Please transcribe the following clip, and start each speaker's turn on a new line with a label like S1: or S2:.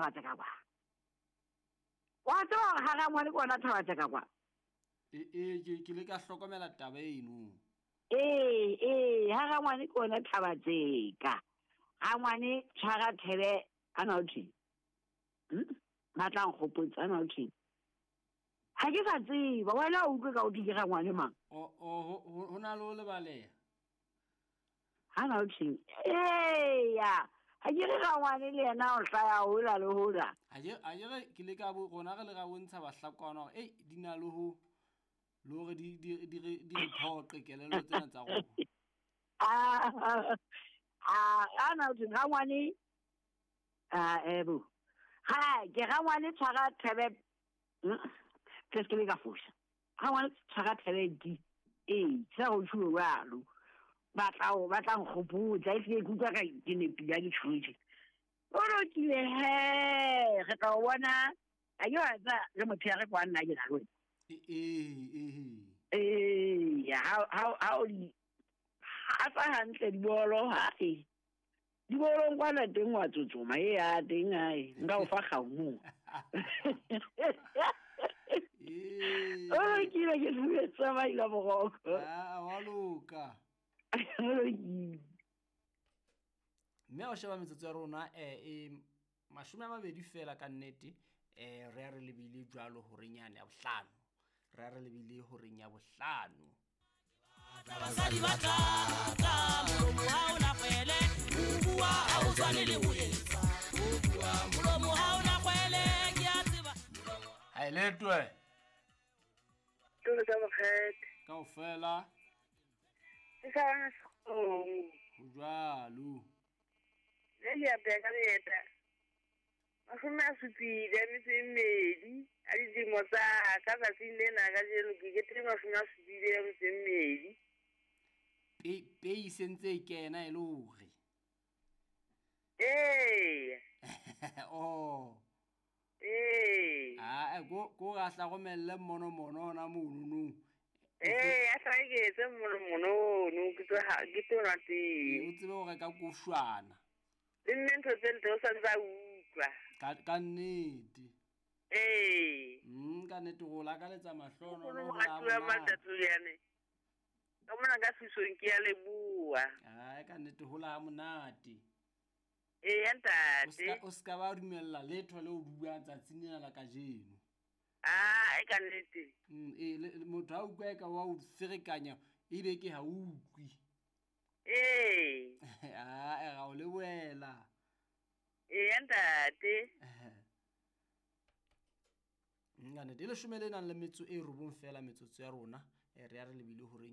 S1: Thabatseka kwa. Wa tseba gore ga rangwane ke ona Thabatseka kwa.
S2: Ee, ke le ka hlokomela taba eno.
S1: Ee, ee, ha rangwane ke ona Thabatseka. Rangwane tshwara thebe a na o thweng? Ba tla nkgopotsa a na o thweng? Ga ke sa tseba, wena o utlwe ka o thwe ke rangwane mang?
S2: O ho na le ho lebaleha.
S1: Ha na o thweng? Eya, ha ke re rangwane le yena o hlaya hola le hola.
S2: Ha ke re ke le ka bo rona re le ra bontsha bahlakwana hore ei di na le ho le hore di di di re di re phoqe kelello tsena tsa rona.
S1: A na o thweng rangwane a ebo. Ha ke rangwane tshwara thebe ke se ke ka fosa. Rangwane tshwara thebe di. Ee, sa go tšhuwe jalo. Ba tla nkgopotsa e se ke utlwa ka ke nepile ha ke tjhutjhe. O lokile he, re tla o bona. A ke wa tsa re motho ya re kwa nna ke na le wena.
S2: Ee.
S1: Ee, ha o di ha tsa hantle dibolo ha e. Dibolong kwana teng wa tsotsoma e ya teng ae nka o fa kgaumo. O lokile ke sebetsa maila boroko.
S2: Ah, wa loka.
S1: O lokile.
S2: Mme o sheba metsotso ya rona e 20 fela ka nnete re a re lebile jwalo horeng yane ya bohlano. Re a re lebile horeng ya bohlano.
S3: Basadi ba tla tla molomo ha o na kgwele, o bua ha o tshwane le ho etsa. O bua molomo ha o na kgwele, ke a tseba.
S2: Ha e letwe.
S4: Tolo tsa bokgethe.
S2: Kaofela.
S4: Ke sa bana sekgomo.
S2: Ho jwalo.
S4: Le le apeya ka leeta. 72 a dilemo tsa ka tsatsing lena kajeno ke kete 72.
S2: Pei sentse e kena e le hore.
S4: Ee.
S2: Oh.
S4: Ee.
S2: Ah, go ra hla romelle mono mono hona mono no.
S4: Ee, a tla ke etse mono mono no ke tlo ha ke tlo na teng.
S2: O tsebe hore ka koshwana.
S4: Le nne ntho tse ntle o sa ntsa utlwa.
S2: Ka nnete.
S4: Ee.
S2: Ka nnete go lakaletsa mahlono
S4: no ho la matatso yane. Ka mona ka thusong ke ya leboha.
S2: Ai ka nnete ho la monate.
S4: Ee, ntate.
S2: O ska ba dumella letho le o buang tsatsing lena la kajeno.
S4: Ah, e ka nnete.
S2: Motho ha utlwa e ka wa o ferekanya ebe ke ha utlwi.
S4: Ee.
S2: Ah, e ra o lebohela.
S4: Ee, ntate.
S2: Nka nnete e leshome le nang le metso e robong fela metsotso ya rona re ya re lebile horeng.